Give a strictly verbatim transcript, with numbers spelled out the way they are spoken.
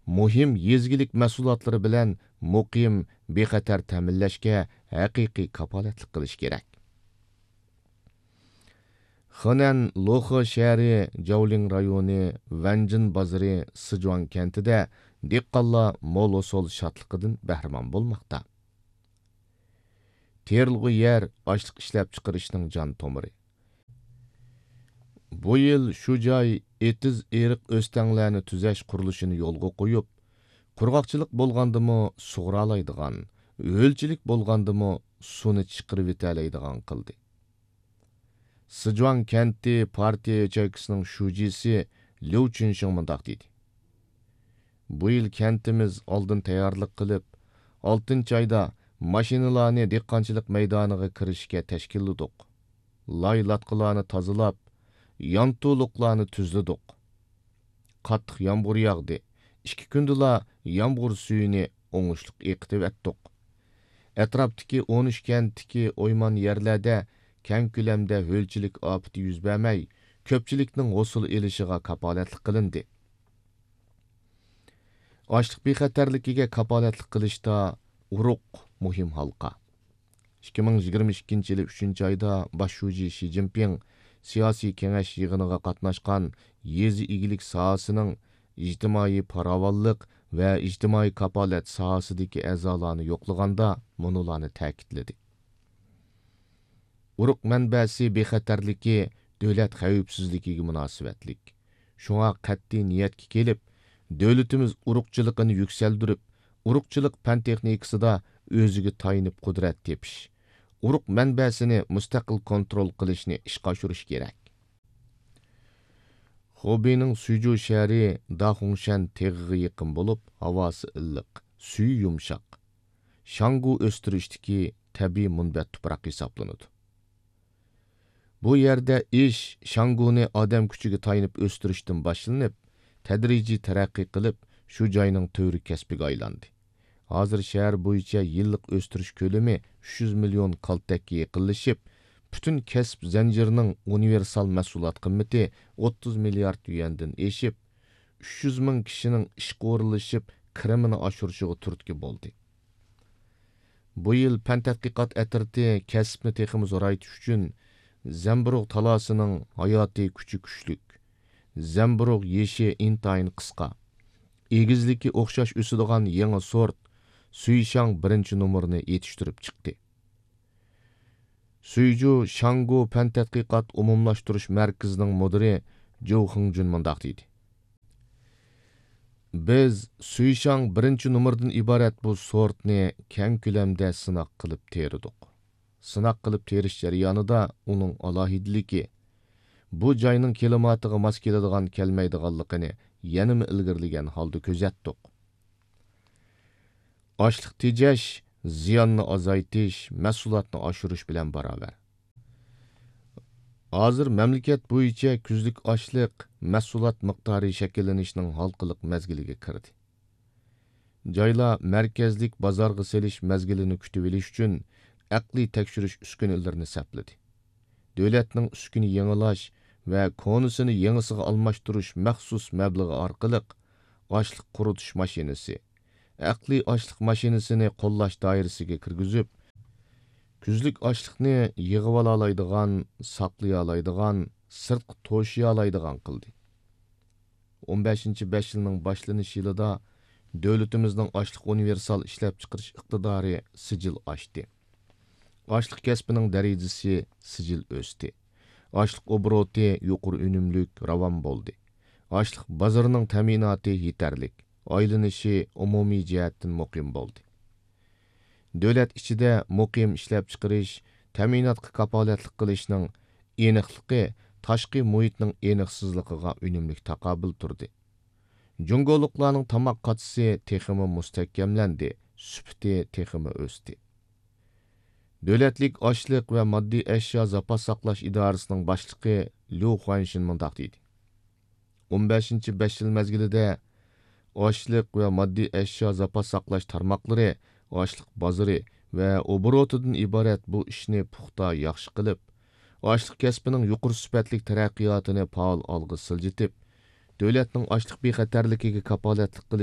مۇھىم يېزا ئىگىلىك مەھسۇلاتلىرى بىلەن مۇقىم، بىخەتەر تەمىنلەشكە ھەقىقىي كاپالەتلىك قىلىش كېرەك. خېنەن لوخې شەھىرى، جاۋلىڭ رايونى، ۋەنجىن بازىرى، سىجۇاڭ كەنتىدە دېھقانلار مول ھوسۇل شادلىقىدىن بەھرىمەن بولماقتا. تېرىلغۇ يەر ئاشلىق ئىشلەپچىقىرىشنىڭ جان تومۇرى. بۇ يىل شۇ جاي ئېتىز-ئېرىق ئۆستەڭلەرنى تۈزەش قۇرۇلۇشىنى يولغا قويۇپ، قۇرغاقچىلىق بولغاندىمۇ سۇغۇرالايدىغان، ھۆلچىلىك بولغاندىمۇ سۇنى چىقىرىۋېتەلەيدىغان قىلدى. سىجۇاڭ كەنتى پارتىيە ياچېيكىسىنىڭ شۇجىسى ليۇ چۈنشىڭ مۇنداق دېدى: بۇ يىل كەنتىمىز ئالدىن تەييارلىق قىلىپ، ئالتىنچى ئايدا ماشىنىلارنى دېھقانچىلىق مەيدانىغا كىرىشكە تەشكىللىدۇق. لاي لاتقىلارنى تازىلاپ، يانتۇلۇقلارنى تۈزلىدۇق. قاتتىق يامغۇر ياغدى. ئىككى كۈندىلا يامغۇر سۈيىنى ئوڭۇشلۇق ئېقىتىۋەتتۇق. ئەتراپتىكى ئون ئۈچ كەنتتىكى ئويمان يەرلەردە كەڭ كۆلەمدە ھۆلچىلىك ئاپىتى يۈز بەرمەي، كۆپچىلىكنىڭ ھوسۇل ئېلىشىغا كاپالەتلىك قىلىندى. ئاشلىق بىخەتەرلىكىگە كاپالەتلىك قىلىشتا ئۇرۇق مۇھىم ھالقا. ئىككى مىڭ يىگىرمە ئىككىنچى يىلى ئۈچىنچى ئايدا باش شۇجى شى جىنپىڭ سىياسىي كېڭەش يىغىنىغا قاتناشقان يېزا ئىگىلىك ساھەسىنىڭ ئىجتىمائىي پاراۋانلىق ۋە ئىجتىمائىي كاپالەت ساھەسىدىكى ئەزالارنى يوقلىغاندا مۇنۇلارنى تەكىتلىدى: ئۇرۇق مەنبەسى بىخەتەرلىكى دۆلەت خەۋپسىزلىكىگە مۇناسىۋەتلىك. شۇڭا قەتئىي نىيەتكە كېلىپ، دۆلىتىمىز ئۇرۇقچىلىقىنى يۈكسەلدۈرۈپ، ئۇرۇقچىلىق پەن تېخنىكىسىدا ئۆزىگە تايىنىپ قۇدرەت تېپىش، ئۇرۇق مەنبەسىنى مۇستەقىل كونترول قىلىشنى ئىشقا ئاشۇرۇش كېرەك. خۇبېينىڭ سۈيجۇ شەھىرى داخۇڭشەن تېغىغا يېقىن بولۇپ، ھاۋاسى ئىللىق، سۈيى يۇمشاق. شاڭگۇ ئۆستۈرۈشتىكى تەبىئىي مۇنبەت تۇپراق ھېسابلىنىدۇ. بۇ يەردە ئىش شاڭگۇنى ئادەم كۈچىگە تايىنىپ ئۆستۈرۈشتىن باشلىنىپ، تەدرىجىي تەرەققىي قىلىپ، شۇ جاينىڭ تۆۋرۈك كەسپىگە ئايلاندى. ھازىر شەھەر بويىچە يىللىق ئۆستۈرۈش كۆلىمى ئۈچ يۈز مىليون كالتەككە يېقىنلىشىپ، پۈتۈن كەسىپ زەنجىرىنىڭ ئۇنىۋېرسال مەھسۇلات قىممىتى ئوتتۇز مىليارد يۈەندىن ئېشىپ، ئۈچ يۈز مىڭ كىشىنىڭ ئىشقا ئورۇنلىشىپ، كىرىمىنى ئاشۇرۇشىغا تۈرتكە بولدى. بۇ يىل پەن تەتقىقات ئەترىتى كەسىپنى تېخىمۇ زورايتىش ئۈچۈن زەمبۇرۇغ تالاسىنىڭ ھاياتىي كۈچى كۈچلۈك، زەمبۇرۇغ يېشى ئىنتايىن قىسقا، ئېگىزلىكى ئوخشاش ئۆسىدىغان يېڭى سورت سۈيشاڭ بىرىنچى نومۇرىنى يېتىشتۈرۈپ چىقتى. سۈيجۇ شاڭگۇ پەن تەتقىقات ئومۇملاشتۇرۇش مەركىزىنىڭ مۇدىرى جوۋ خېڭجۈن مۇنداق دېدى: بىز سۈيشاڭ بىرىنچى نومۇردىن ئىبارەت بۇ سورتنى كەڭ كۆلەمدە سىناق قىلىپ تېرىدۇق. سىناق قىلىپ تېرىش جەريانىدا ئۇنىڭ ئالاھىدىلىكى، بۇ جاينىڭ كىلىماتىغا ماس كېلىدىغان كەلمەيدىغانلىقىنى يەنىمۇ ئىلگىرىلىگەن ھالدا كۆزەتتۇق. ئاشلىق تېجەش زىياننى ئازايتىش، مەھسۇلاتنى ئاشۇرۇش بىلەن باراۋەر. ھازىر مەملىكەت بويىچە كۈزلۈك ئاشلىق مەھسۇلات مىقدارى شەكىللىنىشنىڭ ھالقىلىق مەزگىلىگە كىردى. جايلار مەركەزلىك بازارغا سېلىش مەزگىلىنى كۈتۈۋېلىش ئۈچۈن ئەقلىي تەكشۈرۈش ئۈسكۈنىلىرىنى سەپلىدى. دۆلەتنىڭ ئۈسكۈنە يېڭىلاش ۋە كونىسىنى يېڭىسىغا ئالماشتۇرۇش مەخسۇس مەبلىغى ئارقىلىق ئاشلىق قۇرۇتۇش ماشىنىسى، ئەقلىي ئاشلىق ماشىنىسىنى قوللاش دائىرىسىگە كىرگۈزۈپ، كۈزلۈك ئاشلىقنى يىغىۋالالايدىغان، ساقلىيالايدىغان، سىرتقا توشۇيالايدىغان قىلدى. ئون بەشىنچى بەش يىلنىڭ باشلىنىش يىلىدا دۆلىتىمىزنىڭ ئاشلىق ئۇنىۋېرسال ئىشلەپچىقىرىش ئىقتىدارى سىجىل ئاشتى. ئاشلىق كەسپىنىڭ دەرىجىسى سىجىل ئۆستى. ئاشلىق ئوبوروتى يۇقىرى ئۈنۈملۈك، راۋان بولدى. ئاشلىق بازىرىنىڭ تەمىناتى يېتەرلىك، ئايلىنىشى ئومۇمىي جەھەتتىن مۇقىم بولدى. دۆلەت ئىچىدە مۇقىم ئىشلەپچىقىرىش، تەمىناتقا كاپالەتلىك قىلىشنىڭ ئېنىقلىقى تاشقى مۇھىتنىڭ ئېنىقسىزلىقىغا ئۈنۈملۈك تاقابىل تۇردى. جۇڭگولۇقلارنىڭ تاماق قاچىسى تېخىمۇ مۇستەھكەملەندى، سۈپىتى تېخىمۇ ئۆستى. دۆلەتلىك ئاشلىق ۋە ماددىي ئەشيا زاپاس ساقلاش ئىدارىسىنىڭ باشلىقى ليۇ خۇەنشىن مۇنداق دېدى: ئون بەشىنچى بەش يىل مەزگىلىدە ئاشلىق ۋە ماددىي ئەشيا زاپاس ساقلاش تارماقلىرى ئاشلىق بازىرى ۋە ئوبوروتىدىن ئىبارەت بۇ ئىشنى پۇختا ياخشى قىلىپ، ئاشلىق كەسپىنىڭ يۇقىرى سۈپەتلىك تەرەققىياتىنى پائال ئالغا سىلجىتىپ، دۆلەتنىڭ ئاشلىق بىخەتەرلىكىگە كاپالەتلىك قىلىش